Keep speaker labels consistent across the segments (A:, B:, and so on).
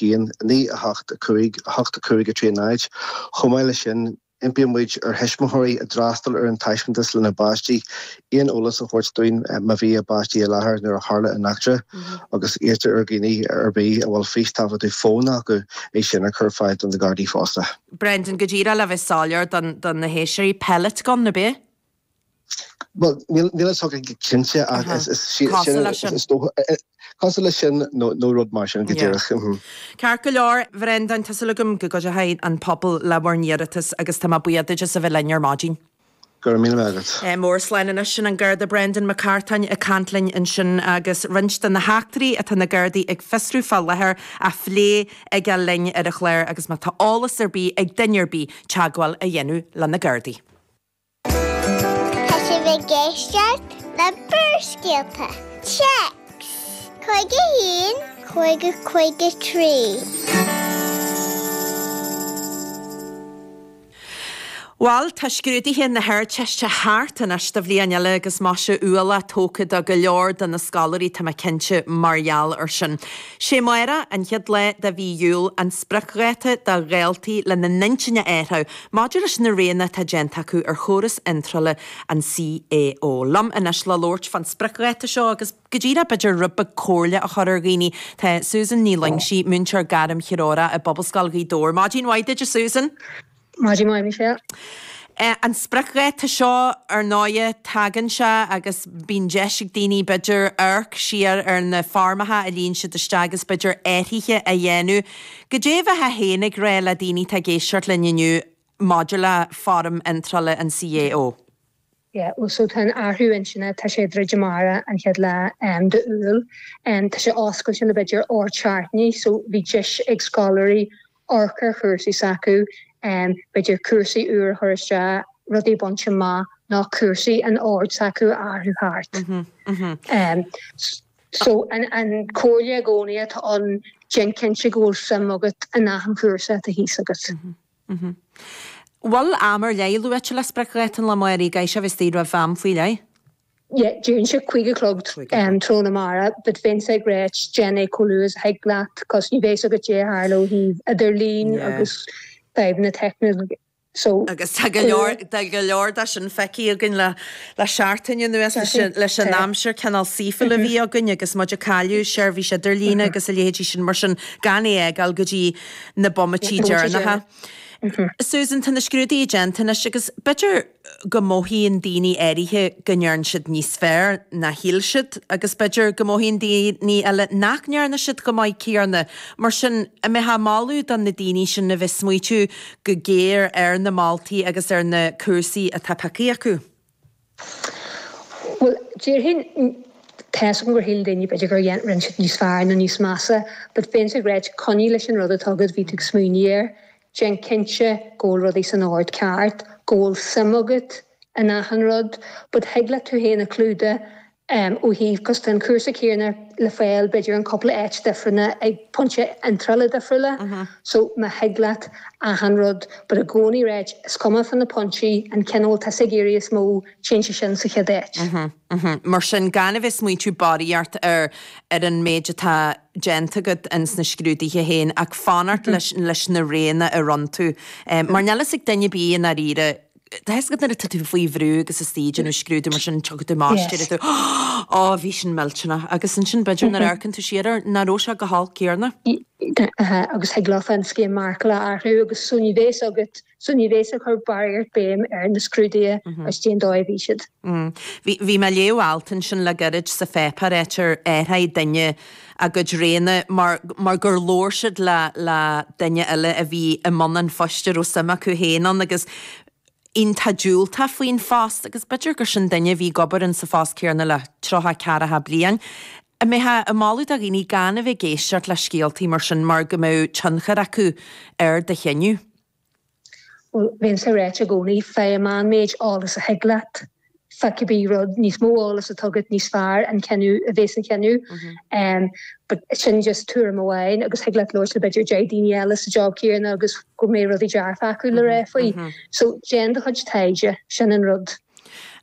A: 1, 9, 8, 5, 8, 5, 3, 0. Chomh maith leis sin, impíonn muid ar thuismitheoirí a d'fhreastail ar an taispeántas lena bpáistí aon eolas a thabhairt dúinn má bhí a bpáistí i láthair nuair a tharla an eachtra agus iarrtar ar dhaoine ar bith a bhfuil fístaifeadadh fóin acu é sin a chur ar fáil do na Gardaí fosta.
B: Brendan, go díreach le bheith soiléir do na héisteoirí, pellet gun, ab ea?
A: Bhuel, níl a fhios agam go cinnte ach is is dócha cosúil leis sin nó rud mar sin go díreach.
B: Ceart go leor, Bhrendáin, tá súil agam go gcuideoidh an pobal le bhur n-iarratas agus tá mé buíoch duit as a bheith linn ar maidin.
A: Go raibh míle maith agat.
B: Mór slán anois, sin an Garda Brendan Mac Cartáin ag caint linn ansin agus roinnt de na heachtraí atá na Gardaí ag fiosrú fá láthair á phlé aige linn ar an chlár agus má tá eolas ar bith ag duine ar bith teagmháil a dhéanamh le na Gardaí.
C: Tá sibh ag éisteacht le Barrscéalta. Téacs 51 50 53.
B: Bhal, tá scrúduithe na hArdteiste thart anois do bhliain eile agus maise ualach tógtha do go leor de na scoláirí, tá mé cinnte, mar gheall ar sin. Sé amárach, an chéad lá de mhí Iúil, an spriocdháta do dhaltaí lena n-intinn a athrú Maidir leis na roghanna atá déanta acu ar chóras iontrála an CAO. Liom anois le labhairt fán spriocdháta seo agus go díreach b'fhéidir rud beag comhairle a chur ar dhaoine, tá Susan Ní Loingsigh, múinteoir gairmthreorach i bPobalscoil Ghaoth Dobhair. Maidin mhaith duit, a Susan.
D: Maidin mhaith, Michelle.
B: An spriocdháta seo, ar ndóighe, tagann sé agus bíonn deis ag daoine, b'fhéidir, amharc siar ar na foirmeacha a líon siad isteach agus b'fhéidir athruithe a dhéanamh. Goidé a bheifeá féin ag rá le daoine atá ag éisteacht linn inniu maidir le foirm iontrála an CAO?
D: Yeah, well so tá an athrú intinne, tá sé ag druidim amárach an chéad lá de Iúil. Tá sé oscailte le b'fhéidir 8 seachtainí so bhí deis ag scoláirí amharc ar chúrsaí s'acu, b'fhéidir cúrsaí úr a chur isteach, rudaí a bhaint amach nó cúrsaí an ord s'acu a athrú thart. So an comhairle i gcónaí atá ann, déan cinnte go bhfuil suim agat in achan chúrsa atá thíos agat.
B: Bhfuil am ar leith luaite le spriocdháta an lae amáirigh, caithfidh sé a bheith istigh roimh am faoi leith?
D: Yeah, deireann sé cúig a chlog tráthnóna amárach, but bheinnse ag ráit déan é chomh luath is a thig leat, cos ní bheidh a fhios agat cad é a tharla ó thaobh idirlín agus fadhbanna teicniúla. So,
B: Agus tá go leor, tá go leor de sin feicthe againn le, le seachtain anuas leis an, leis an aimsir cineál saoithiúil a bhí againn agus muid ag cailleadh seirbhís idirlíne agus a leithéidí sin mar sin gan é a fhágáil go dtí na bomaití deireanacha. Susan, tá na scrúduithe déanta anois agus b'fhéidir go mothaíonn daoine áirithe go ndearna siad níos fearr ná shíl siad agus b'fhéidir go mothaíonn daoine eile nach ndearna siad chomh maith céanna. Mar sin, an mbeifeá ag moladh do na daoine sin a bheith ag smaoitiú go géar ar na moltaí agus ar na cúrsaí atá pioctha acu?
D: Bhuel, déarfainn, tá 'fhios agam gur shíl daoine b'fhéidir gur dhein, rinne siad níos fearr nó níos measa, but bheinnse ag ráit, coinnigh leis an rud atá agat, bhí tú ag smaoineamh air, déan cinnte go bhfuil rudaí san ord ceart, go bhfuil suim agat in achan rud, but thig leat tú féin a chlúdach ó thaobh, cos tá an cúrsa céanna le fáil b'fhéidir in cúpla áit difriúla ag pointe iontrála difriúla, so má thig leat achan rud, but i gcónaí ráit, is cuma fá na pointí, an ceann a bhfuil tusa ag iarraidh is mó, téann sé sin sa chéad
B: áit. Mar sin, gan a bheith smaointiú barraíocht ar ar an méid atá déanta agat ins na scrúduithe féin ach fanacht leis leis na roghanna a rinne tú. Mar níl fhios ag duine ar bith i ndáiríre Tá fhios agat nuair atá tú faoi bhrú agus istigh ag déanamh scrúdú mar sin tiocfaidh tú amach is déarfaidh tú Ó bhí sin millteanach agus ansin b'fhéidir nuair a amharcann tú siar air nach raibh sé chomh holc céanna.
D: Agus thig leofa an scéim marcála a athrú agus so ní bheas agat so ní bheas ag cur barraíocht béim ar na scrúduithe agus cén dóigh a bhí siad.
B: Bhí bhí mé ag léamh alt ansin le gairid sa pháipéar áit ar athraigh duine a gcuid roghanna mar mar gur labhair siad le le duine eile a bhí i mbun an phoist a raibh suim acu féin ann agus iontach diúltach faoin phost agus b'fhéidir gur sin duine a bhí ag obair in sa phost céanna le 30 ceathracha bliain. An mbeifeá ag moladh do dhaoine gan a bheith ag éisteacht le scéaltaí mar sin mar go mbeadh tionchar acu ar do chinneadh?
D: Bhuel, bheinnse ag ráit i gcónaí, faigh an méid eolas a thig leat, fá cibé rud, níos mó eolas atá agat, níos fearr an cinneadh a bheas an cinneadh. But sin just tuairim amháin agus thig leat labhairt le b'fhéidir 10 daoine eile sa job céanna agus go mbeidh rudaí dearfa acu le rá faoi. So déan do chuid taighde, sin an rud.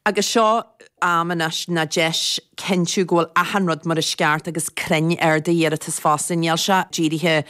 B: Agus seo am anois ná deis cinntiú go bhfuil achan rud mar is ceart agus cruinn ar d'iarratas fosta. Níl sé dírithe.